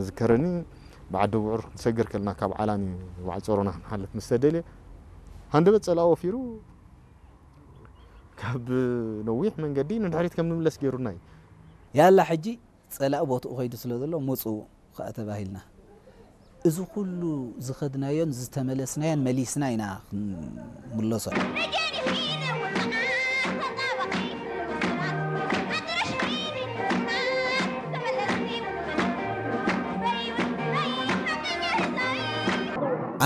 ዝከረኒ ብዓዲ ውዕር ክንሰግር ከልና ካብ ዓላን እዩ በዓል ጾሮና ክንሓልፍ ምስ ተደልየ ሃንደበት ጸላኢ ወፊሩ ካብ ነዊሕ መንገዲ ንድሕሪት ከም ንምለስ ገይሩና እዩ። ያላ ሕጂ ጸላኢ ቦትኡ ከይዱ ስለ ዘሎ ምፁ ከኣ ተባሂልና። እዚ ኩሉ ዝኸድናዮን ዝተመለስናዮን መሊስና ኢና ክንምለሶ።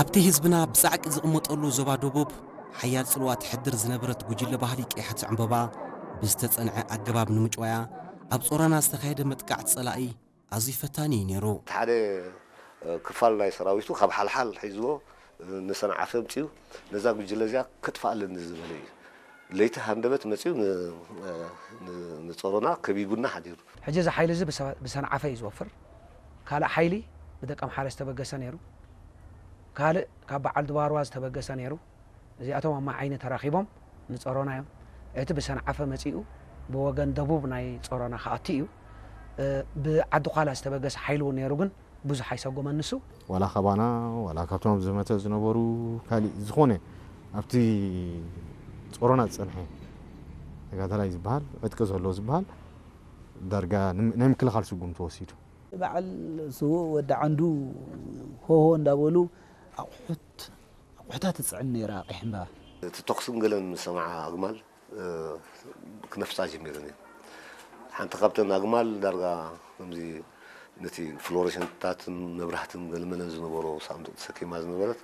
ኣብቲ ህዝብና ብጻዕቂ ዝቕመጠሉ ዞባ ደቡብ ሓያል ጽልዋ ትሕድር ዝነበረት ጉጅለ ባህሊ ቀያሕቲ ዕምበባ ብዝተጸንዐ ኣገባብ ንምጭዋያ ኣብ ጾሮና ዝተኻየደ መጥቃዕቲ ጸላኢ ኣዝዩ ፈታኒ እዩ ነይሩ። እቲ ሓደ ክፋል ናይ ሰራዊቱ ካብ ሓልሓል ሒዝዎ ንሰንዓፈ ኣምጺኡ ነዛ ጉጅለ እዚኣ ከጥፍኣ ኣለኒ ዝበለ እዩ። ለይቲ ሃንደበት መጺኡ ንጾሮና ከቢቡና ሓዲሩ። ሕጂ እዚ ሓይሊ እዚ ብሰንዓፈ እዩ ዝወፍር። ካልእ ሓይሊ ብደቀምሓረ ዝተበገሰ ነይሩ። ካልእ ካብ በዓል ድባርዋ ዝተበገሰ ነይሩ። እዚኣቶም ኣብ ማይ ዓይኒ ተራኺቦም ንጸሮና እዮም። እቲ ብሰንዓፈ መጺኡ ብወገን ደቡብ ናይ ጸሮና ክኣቱ እዩ። ብዓዲ ዃላ ዝተበገሰ ሓይሊ እውን ነይሩ፣ ግን ብዙሕ ኣይሰጎመን ንሱ። ዋላ ካባና ዋላ ካብቶም ኣብ ዘመተ ዝነበሩ ካሊእ ዝኾነ ኣብቲ ጾሮና ዝጸንሐ ተጋዳላይ ዝበሃል ዕጥቂ ዘሎ ዝበሃል ዳርጋ ናይ ምክልኻል ስጉምቲ ወሲዱ። በዓል ስዉእ ወዲ ዓንዱ ሆሆ እንዳበሉ ኣቑሑት ኣቑሑታ ትፅዕን ነይራ ቀይሕ ዕምባባ። እቲ ተኹስን ገለን ምስ ሰምዓ ኣግማል ክነፍፃ ጀሚረን እየን። ሓንቲ ካብተን ኣግማል ዳርጋ ከምዚ ነቲ ፍሎረሰንትታትን መብራህትን ገለመለን ዝነበሮ ሳንዱቕ ተሰኪማ ዝነበረት